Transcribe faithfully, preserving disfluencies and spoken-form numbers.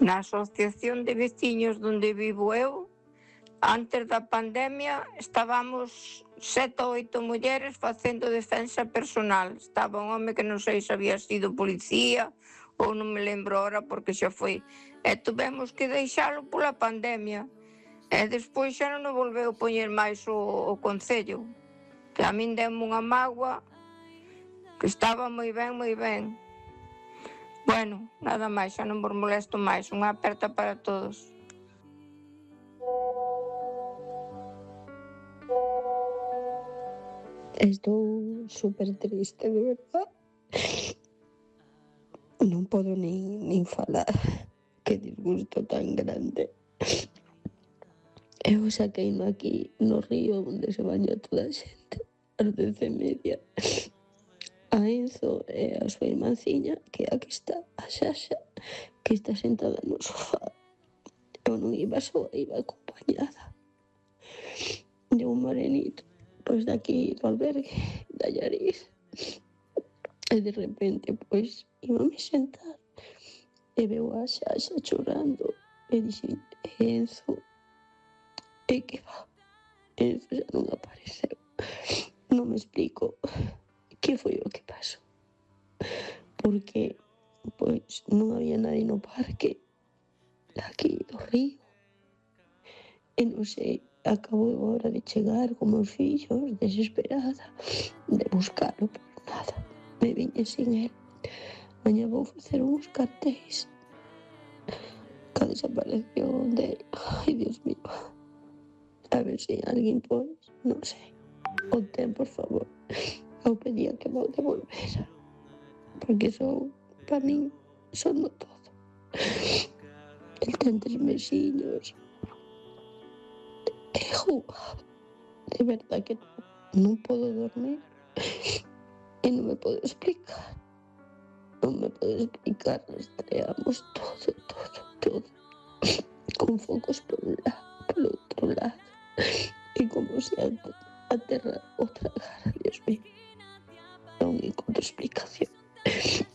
Na asociación de veciños onde vivo eu, antes da pandemia, estábamos sete ou oito mulleres facendo defensa personal. Estaba un home que non sei se había sido policía ou non me lembro ahora porque xa foi. E tuvemos que deixalo pola pandemia. E despois xa non o volveu poñer máis o, o Concello. Que a min deu unha mágoa que estaba moi ben, moi ben. Bueno, nada máis, xa non vos molesto máis. Unha aperta para todos. Estou super triste, de verdad. Non podo nin, nin falar. Que disgusto tan grande. Eu saqueino aquí no río onde se baña toda a xente, ás dez e media. A Enzo e a súa irmanciña, que aquí está, a Xaxa, que está sentada no sofá. Eu non iba soa, iba acompañada de un morenito, pois daqui do albergue, da Llariz. E de repente, pois, íbame sentar e veo a Xaxa chorando e dixen, Enzo, e que va? Enzo xa non apareceu. Non me explico que foi o que pasou. Porque, pois, non había nadie no parque aquí do río. E non sei, acabo agora de chegar con meus fillos, desesperada, de buscalo, pero nada, me viñe sin él. Mañá vou facer uns cartéis que a desaparición dele. Ai, Dios mío. A ver se alguén, pois, non sei, o ten, por favor. Eu pedía que me o devolvera, porque son, para min, son no todo. El ten tres mesiños. E jugaba. De verdad que non podo dormir. E non me podo explicar. Non me podo explicar. Rastreamos todo, todo, todo. Con focos por un lado, por outro lado. E como se a, a terra o tragara, Dios mío. Non encontro explicación.